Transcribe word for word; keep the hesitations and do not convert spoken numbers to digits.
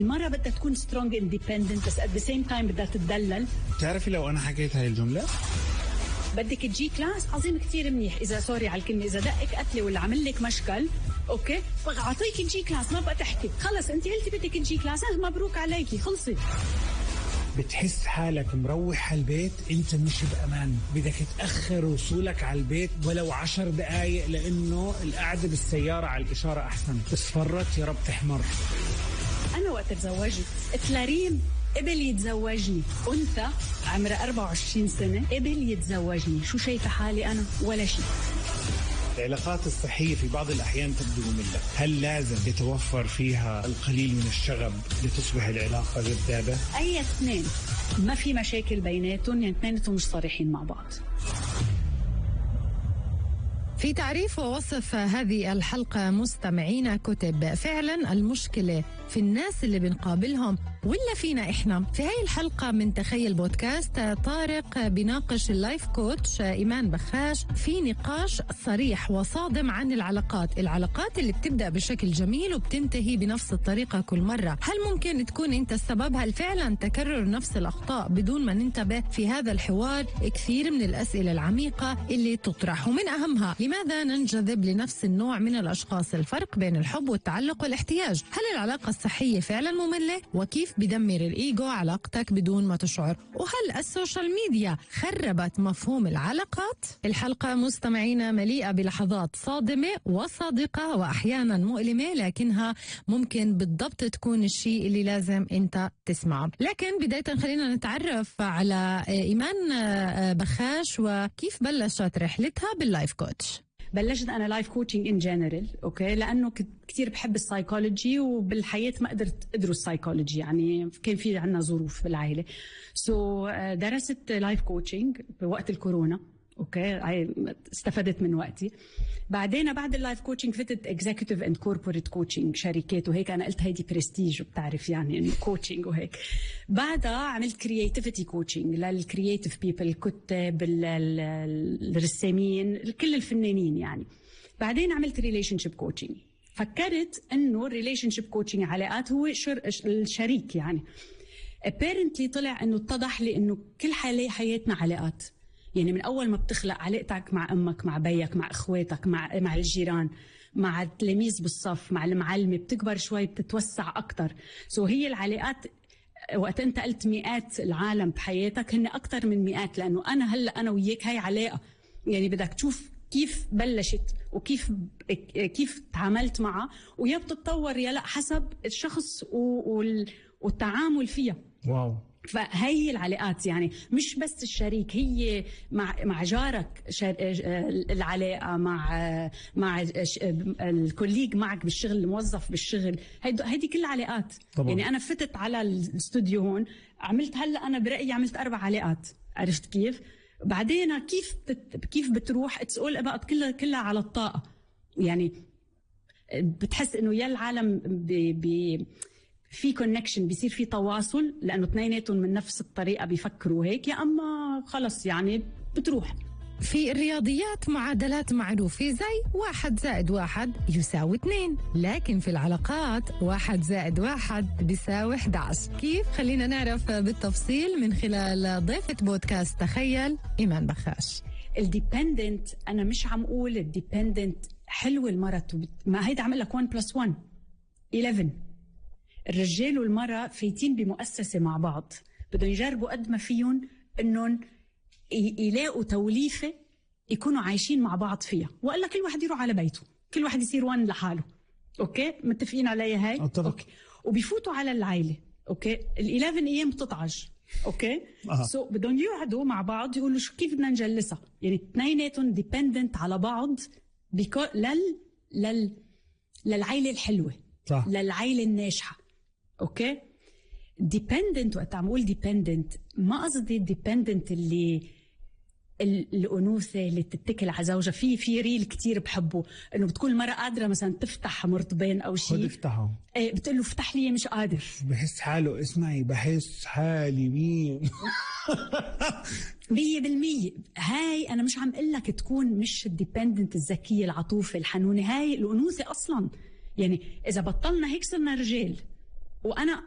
المرة بدها تكون strong independent بس at the same time بدها تتدلل. بتعرفي لو أنا حكيت هاي الجملة بدك تجي كلاس عظيم كتير منيح، إذا سوري على الكلمة، إذا دقك قتلة ولا عمل لك مشكل أوكي فأعطيك تجي كلاس، ما بقى تحكي خلص أنت قلتي بدك تجي كلاس، مبروك عليكي خلصي. بتحس حالك مروح على البيت انت مش بامان، بدك تاخر وصولك على البيت ولو عشر دقائق لانه القعده بالسياره على الاشاره احسن. اصفرت يا رب تحمر. انا وقت تزوجت تلاريم قبل يتزوجني، انثى عمرها أربعة وعشرين سنه قبل يتزوجني، شو شايفه حالي انا؟ ولا شيء. العلاقات الصحية في بعض الأحيان تبدو مملة، هل لازم يتوفر فيها القليل من الشغب لتصبح العلاقة جذابة؟ أي اثنين ما في مشاكل بيناتهم، يعني اثنيناتهم مش صريحين مع بعض. في تعريف ووصف هذه الحلقة مستمعينا كتب: فعلا المشكلة في الناس اللي بنقابلهم ولا فينا إحنا. في هاي الحلقة من تخيل بودكاست طارق بيناقش اللايف كوتش إيمان بخاش في نقاش صريح وصادم عن العلاقات العلاقات اللي بتبدأ بشكل جميل وبتنتهي بنفس الطريقة كل مرة. هل ممكن تكون أنت السبب؟ هل فعلا تكرر نفس الأخطاء بدون ما ننتبه؟ في هذا الحوار كثير من الأسئلة العميقة اللي تطرح، ومن أهمها لماذا ننجذب لنفس النوع من الأشخاص؟ الفرق بين الحب والتعلق والاحتياج. هل العلاقة الصحية فعلا مملة؟ وكيف بدمر الإيجو علاقتك بدون ما تشعر؟ وهل السوشيال ميديا خربت مفهوم العلاقات؟ الحلقة مستمعينا مليئة بلحظات صادمة وصادقة وأحيانا مؤلمة، لكنها ممكن بالضبط تكون الشيء اللي لازم أنت تسمعه. لكن بداية خلينا نتعرف على إيمان بخاش وكيف بلشت رحلتها باللايف كوتش. بلشت أنا لايف كوتشنج إن جنرال أوكي لأنه كنت كتير بحب السايكولوجي، وبالحياة ما قدرت أدرس سايكولوجي، يعني كان في عنا ظروف بالعائلة. سو so, درست لايف كوتشنج بوقت الكورونا اوكي، استفدت من وقتي. بعدين بعد اللايف كوتشنج فتت اكزيكتيف اند كوربوريت كوتشنج، شركات وهيك. انا قلت هيدي برستيج وبتعرف يعني انه كوتشنج وهيك. بعدها عملت كرياتيفيتي كوتشنج للكرياتيف بيبل، الكتاب، الرسامين، كل الفنانين يعني. بعدين عملت ريليشن شيب كوتشنج. فكرت انه الريليشن شيب كوتشنج علاقات هو شر... الشريك يعني. apparently طلع انه اتضح لي انه كل حالي حياتنا علاقات، يعني من أول ما بتخلق علاقتك مع أمك، مع بيك، مع إخواتك، مع مع الجيران، مع التلاميذ بالصف، مع المعلمة، بتكبر شوي بتتوسع أكتر. سو هي العلاقات وقت أنت قلت مئات العالم بحياتك، هن أكتر من مئات، لأنه أنا هلأ أنا وياك هاي علاقة، يعني بدك تشوف كيف بلشت وكيف كيف تعاملت معها، ويا بتتطور يا لا حسب الشخص والتعامل فيها. واو. فهي العلاقات يعني مش بس الشريك، هي مع مع جارك العلاقه، مع مع الكوليج معك بالشغل، الموظف بالشغل، هيدي هيدي كل علاقات. يعني انا فتت على الاستوديو هون، عملت هلا انا برايي عملت اربع علاقات، عرفت كيف؟ بعدين كيف بتت... كيف بتروح اتس اول اباوت، كلها كلها على الطاقه. يعني بتحس انه يا العالم ب... ب... في كونكشن، بيصير في تواصل لأنه اثنيناتهم من نفس الطريقة بيفكروا هيك، يا أما خلص يعني بتروح. في الرياضيات معادلات معروفة زي واحد زائد واحد يساوي اثنين، لكن في العلاقات واحد زائد واحد بيساوي إحدى عشر. كيف؟ خلينا نعرف بالتفصيل من خلال ضيفة بودكاست تخيل إيمان بخاش. الديبندنت، أنا مش عم أقول الديبندنت حلوة المرة، ما هيدا عمل لك واحد بلس واحد إحدى عشر. الرجال والمرأة فايتين بمؤسسة مع بعض، بدهم يجربوا قد ما فيهم انهم يلاقوا توليفة يكونوا عايشين مع بعض فيها، وقال كل واحد يروح على بيته، كل واحد يصير وان لحاله. اوكي متفقين عليها هاي؟ أطلق. اوكي. وبيفوتوا على العائلة اوكي ال11 ايام بتطعج اوكي أه. سو so, بدهم يقعدوا مع بعض يقولوا شو كيف بدنا نجلسها، يعني اثنيناتهم ديبندنت على بعض بيكو... لل لل للعائلة الحلوة. صح. للعائلة الناجحة. اوكي. ديبندنت، وقت عم اقول ديبندنت ما قصدي ديبندنت اللي الانوثه اللي تتكل على زوجها. في في ريل كتير بحبه، انه بتكون المراه قادره مثلا تفتح مرطبين او شيء، خد افتحه، ايه بتقول له افتح لي مش قادر، بحس حاله اسمعي بحس حالي مين. مية بالمية. هاي انا مش عم اقول لك تكون مش الديبندنت الذكيه العطوفه الحنونه، هاي الانوثه اصلا. يعني اذا بطلنا هيك صرنا رجال وانا